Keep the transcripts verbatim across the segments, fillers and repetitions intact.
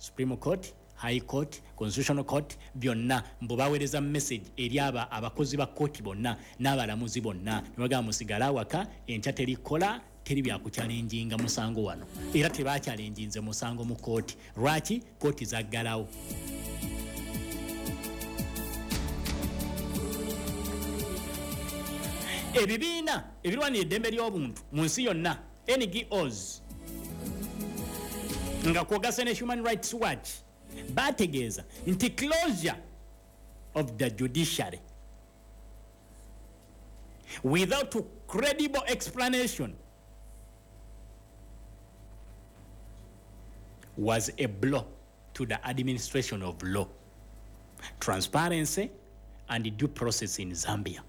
Supreme Court, High Court, Constitutional Court byonna mbu baweereza message eri aba abakozi ba kooti bonna n'abalamuzi bonna, ne bagamba musigale awaka enkya, terikola, teri byakuchallenginga musango wano. Era tebachallenginze musango mu kooti. Lwaki kooti zaggalawo? Ebibiina ebirwanira eddembe ly'obuntu mu nsi yonna, N G Os, nga kwogasa ne Human Rights Watch, bategeeza nti closure of the judiciary without credible explanation was a blow to the administration of law, transparency and due process in Zambia.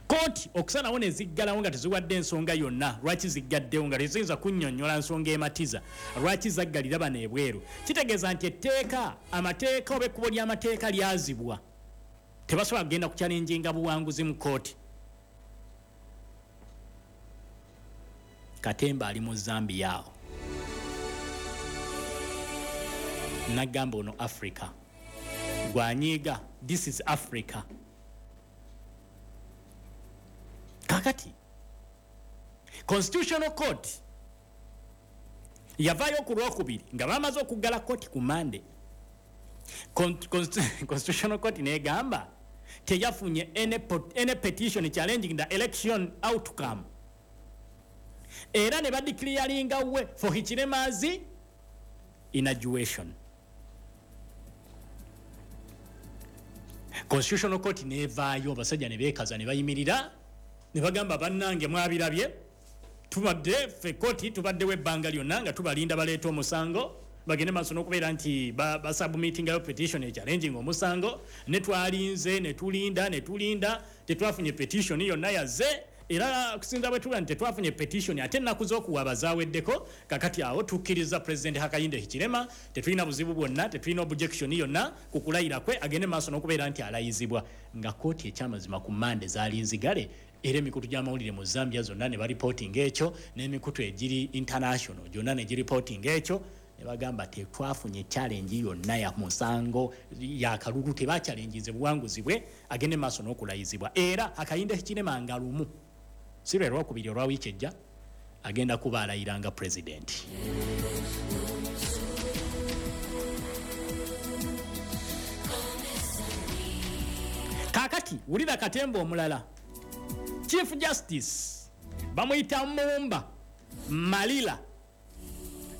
Kooti okusalawo ne ziggalawo nga teziwadde ensonga yonna lwaki ziggaddewo, nga teziyinza kunnyonnyola nsonga ematiza lwaki zaggalira bano ebweru, kitegeeza nti etteeka, amateeka oba ekkubo ly'amateeka lyazibwa. Tebasobola kugenda kuchallenginga buwanguzi mu kooti. Katemba ali mu Zambia awo. Nagamba ono Africa gwanyiiga, this is Africa. Kakati Constitutional Court yavaayo ku Lwokubiri nga bamaze okuggala kooti ku Mande. Constitutional Court negamba teyafunye any, any petition challenging the election outcome, era ne badeclaringa way for Hichilema's inauguration. Constitutional Court nevaayo, abasajja ne beekaza ne bayimirira ne bagamba, bannange mwabirabye, tubadde ffe kooti tubaddewo ebbanga lyonna nga tubalinda baleeta omusango, bagende maaso n'okubeera nti basubmittingayo petition echallenging omusango, ne twalinze ne tulinda ne tulinda, tetwafunye petition yonna yazze. Era kusinza bwe tuba nti tetwafunye petition, ate ennaku z'okuwaaba zaaweddeko, kakati awo tukkiriza President Hakainde Hichilema, tetulina buzibu bwonna, tetulina objection yonna ku kulayira kwe, agende maaso n'okubeera nti alayizibwa. Nga kooti ekyamazima ku Mande zaali nzigale, era emikutu gy'amawulire mu Zambia zonna ne bareportinga ekyo, n'emikutu egiri international gyonna ne gireportinga ekyo, ne bagamba tetwafunye challenge yonna ya musango yakalulu, tebachallenginze buwanguzi bwe, agende maaso n'okulayizibwa. Era Hakainde Hichilema nga lumu si lwe lwokubiri olwa wiiki ejja agenda kuba alayiranga pulezidenti. Kakati wulira katemba omulala. Chief Justice bamuyita Mumba Malila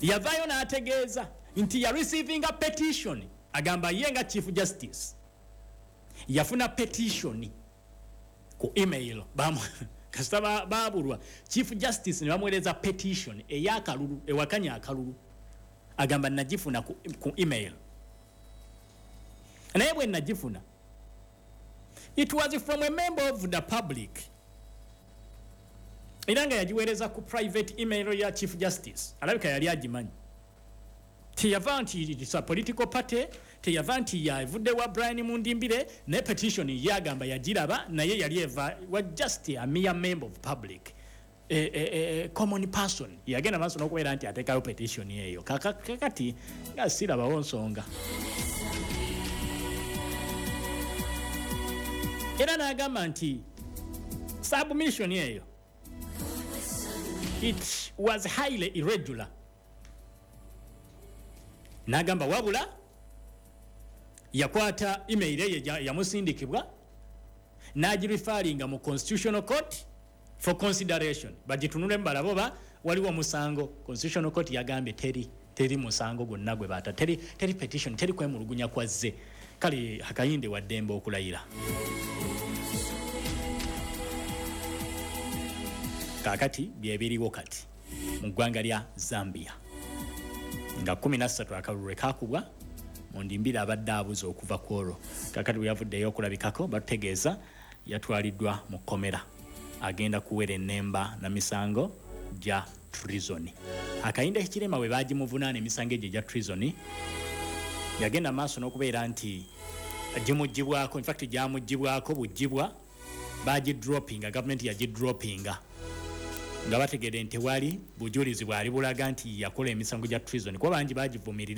yavaayo n'ategeeza nti ya receiving a petition. Agamba ye nga Chief Justice yafuna petition ku email. Kasita babulwa Chief Justice ne bamuweereza petition ey'akalulu, ewakanya akalulu. Agamba nagifuna ku, ku email, naye bwe nagifuna, it was from a member of the public, era nga yagiweereza ku private email ya Chief Justice. Alabika yali agimanyi. Teyava nti it's a political party, teyava nti yavudde wa Brian Mundimbire, naye petition yagamba yagiraba, naye yali eva wa just a mere member of public, a, a, a common person. Yagenda maaso n'okubeera nti ateekayo petition eyo. Kakati nga sirabawo nsonga. Era n'agamba nti submission eyo, it was highly irregular. N'agamba wabula yakwata email ye yamusindikibwa n'agireferringa mu Constitutional Court for consideration, bagitunule balaba oba waliwo omusango. Constitutional Court yagambye teri teri musango gwonna gwe baata, teri, teri petition, teri kwemulugunya kwazze. Kale Hakainde waddembe okulayira. Kakati byebiriwo kati mu ggwanga lya Zambia nga kumi na ssatu akalulu lwe kakubwa. Mundimbira abadde abuze okuva ku olwo. Kakati bwe yavuddeyo okulabikako, batutegeeza yatwaliddwa mu kkomera, agenda kuwera ennemba na misango gya treason. Hakainde Hichilema bwe bagimuvunaana emisango egyo egya treason, yagenda maaso n'okubeera nti gimugibwako. Infact gyamugibwako bugibwa, bagidroppinga, gavumenti yagidroppinga nga bategedde nti tewali bujulizi bwali bulaga nti yakola emisango gya treason, kuba bangi bagivumirira.